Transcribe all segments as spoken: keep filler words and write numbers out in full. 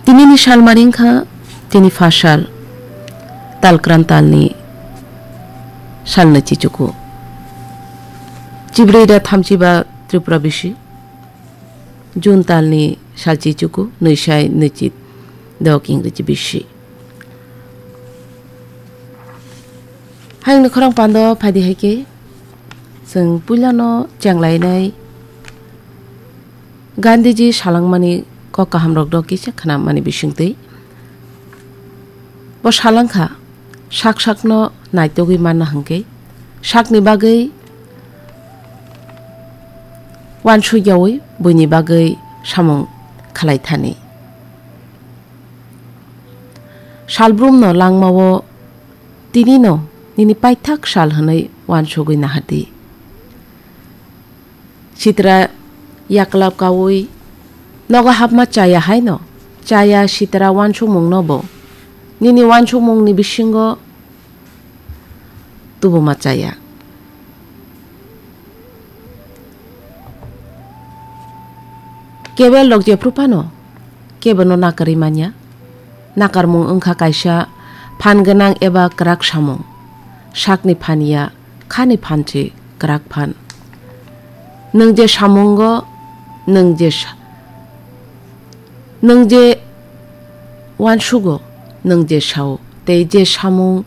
Tinini salmari wngkha tini phasal, talkran talni salnwi chichuku. Chibrwi da thamchiba Tripura bisi, June talni sal chichuku, nwisai nwichit dok Ingreji bisi. Hayungni khorang pando phaidi hai khe, chwng puilano chenglainai Gandhiji salangmani kok kahamrokno kisa khnamani bisingtwi. Bo salangkha, sak sakno naitugwi manna hwnkhe, sakni bagwi uansukyaui buini bagwi samung khlai thani. Salbrumno langmao tinino nini paithak sal hwnwi uansugwi nahardi. Sitra yaklap kaui nogo hapma chaya haino, chaya sitra uansukmungno bo nini uansukmungni bisingo tubuma chaya. Kebel rok jephru phano kebono nakarwi manya. Nakarmung wngkha kaisa phan gwnang eba kwrak samung. Sakni phan ya, khani phan se kwrak phan. Nwng je samungo, nwng je sa-, nwng je uansugo, nwng je sao, tei je samung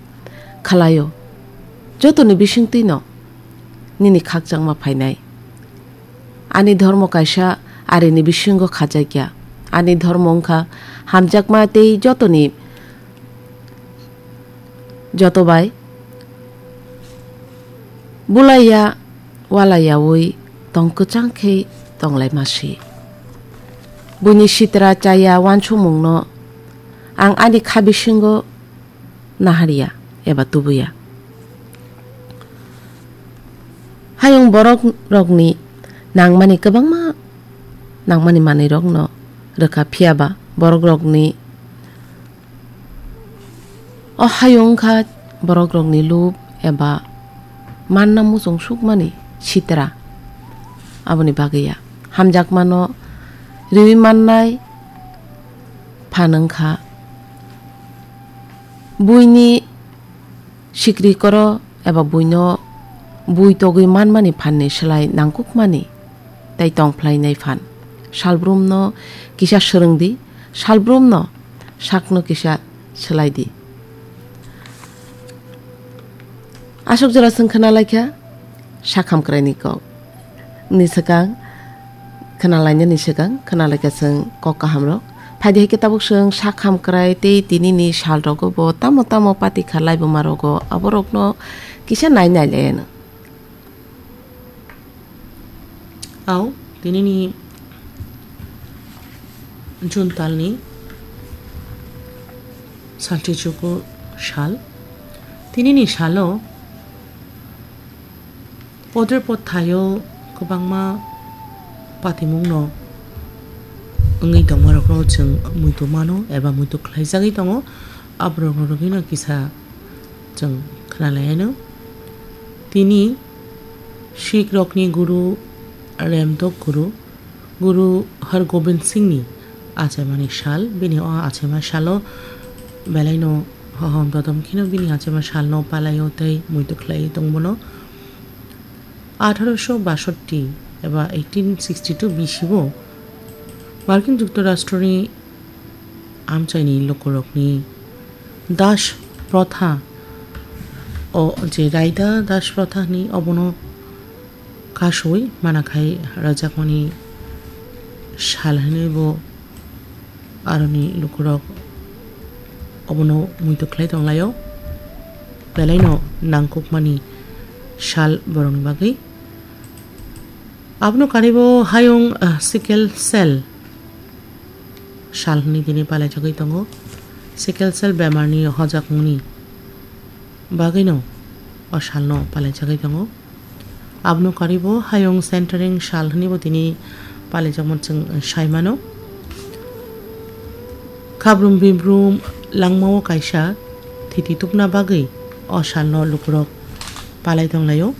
khlaio, jotoni bisingtwino nini khakchangma phainai. Ani dhormo kaisa arini bisingo khajakya. Ani dhormo wngkha hamjakma tei jotoni, joto bai bulaiya walaiyaui tong kwchang khe tonglaima si. Buini sitra chaya uansukmungno ang ani kha bisingo naharya eba tubuya. Hayung borok rokni nangmani kwbangma nangmani manwi rokno rwkha, phiya ba borok rokni o hayung wngkha borok rokni lub eba manna muchung sukmani sitra. Aboni bagwi ya hamjakmano riwi mannai phan wngkha buini sikri koro eba buino bui togwi manmani phanni slai nangkukmani tei tongphlainai phan. Salbrumno kisa swrwngdi, salbrumno sakno kisa swlaidi. Aswk jora chwng khna laikha sak hamkraini kok. Ni swkang khna lainani swkang khna laikha chwng kok kahamrok. Phaidi hai khe tabuk chwng sak hamkrai tei tinini salrogo bo tamo tamo pati kha laibumarogo aborokno kisa nai nai laiano. Ao, tinini June talni salchichuku sal. Tinini salo poder pothayo kwbangma patimungno wngwi tongmarokno chwng muitu mano eba muitu khlaijagwi tongo. Aborokno rwgwino kisa chwng khna laiano. Tini Sikh rokni guru Remdok guru, Guru Har Gobind Singhni achaimani sal, bini o achaima salo belaino hohom dodom kheno bini achaima salno palaio tei muitu khlaiwi tongbono. Atharo basotti eba eighteen sixty two bisibo Markin Juktorashtroni amchaini lukurokni Das Protha, o je Raida Das Protha hwnwi obono kasui manakhai rwjakmani sal hwnwi bo aroni lukurok obono muitu khlai tonglaio, belaino nangkukmani sal borokni bagwi. Abono karibo hayung, ah, sickle cell sal hwnwi tini palaijagwi tongo. Sickle cell bemarni hojakmungni bagwino o salno palaijagwi tongo. Abono karibo hayung centering sal hwnwibo tini palaijakmani chwng saimano. Khabrum bibrum langmao kaisa thiti tubna bagwi o salno lukurok palai tonglaio.